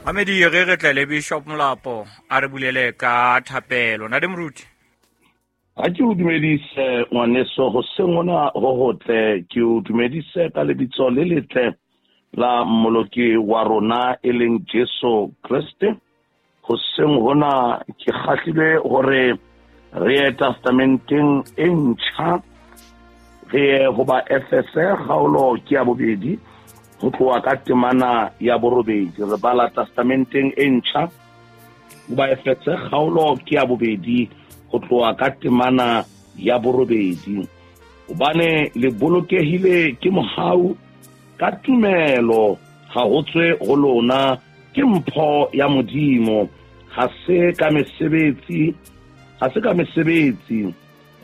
Mamedi, re re tle le Bishop Molapo a re bulele ka thapelo. Ntate Moruti. A ke o dumedise ngwaneso hoseng hona ho hotle, ke o dumedise ka lebitso le letle la Mmoloki wa rona e leng Jesu Kreste. Hoseng hona ke kgahlilwe hore re ye testamenteng e ntjha, re ye ho ba Efese kgaolo ke ya 2 ho tloha ka temana ya 8. Re bala testamenteng e ntjha ho ba Efese kgaolo ke ya 2 ho tloha ka temana ya 8. Hobane le bolokehile ke mohau ka tumelo, ha ho tswe ho lona, ke mpho ya Modimo, ha se ka mesebetsi, ha se ka mesebetsi,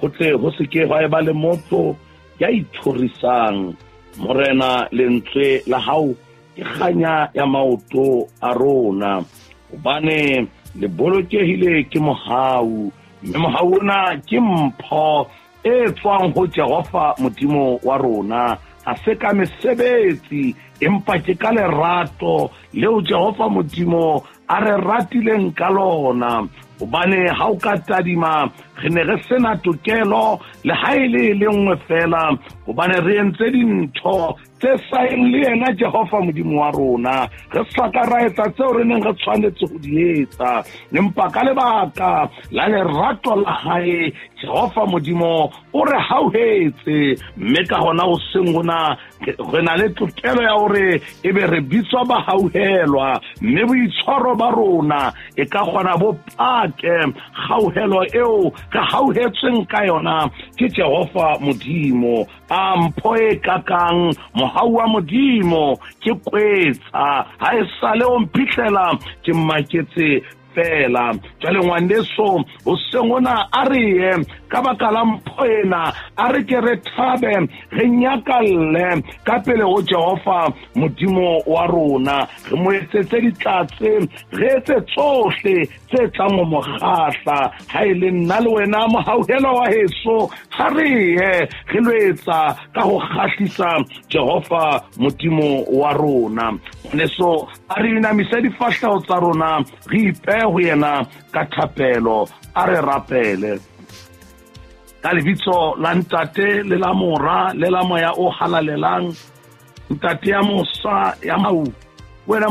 ho tle ho se ke hwa eba le motho ya ithorisang. Morena, lentswe la hao ke kganya ya maoto a rona, hobane le bolokehile ke mohau, mme mohau ona ke mpho e tswang ho Jehova Modimo wa rona. Ha se ka mesebetsi, empa ke ka lerato leo Jehova Modimo a re ratileng ka lona. Hobane ha o ka tadima, re ne re sena tokelo le ha e le le nngwe fela, hobane re entse dintho tse sa yeng le yena Jehova Modimo wa rona, re sa ka ra etsa tseo re neng re tshwanetse ho di etsa. Empa ka lebaka la lerato la hae, Jehova Modimo o re hauhetse, mme ka hona hoseng hona re na le tokelo ya hore ebe re bitswa bahauhelwa, mme boitshwaro ba rona e ka kgona bo pake kgauhelo eo re hauhetsweng ka yona ke Jehova Modimo. A mpho e kakang mohau wa Modimo ke kwetsa, ha e sale o mphihlela ke maketse fela. Jwale ngwaneso, hoseng hona a re ye ka baka la mpho ena, a re ke re thabe, re nyakalle ka pele ho Jehova Modimo wa rona, re mo etsetse ditlatse, re etse tsohle tse tlang ho mo kgahla. Ha e le nna le wena mohauhelo wa heso, ha re ye re lo etsa ka ho kgahlisa Jehova Modimo wa rona. Ngwaneso, a re inamise difahleho tsa rona, re ipehe ho yena ka thapelo. A re rapele ka lebitso la Ntate le la Mora le la Moya o Halalelang. Ntate ya mosa ya mau,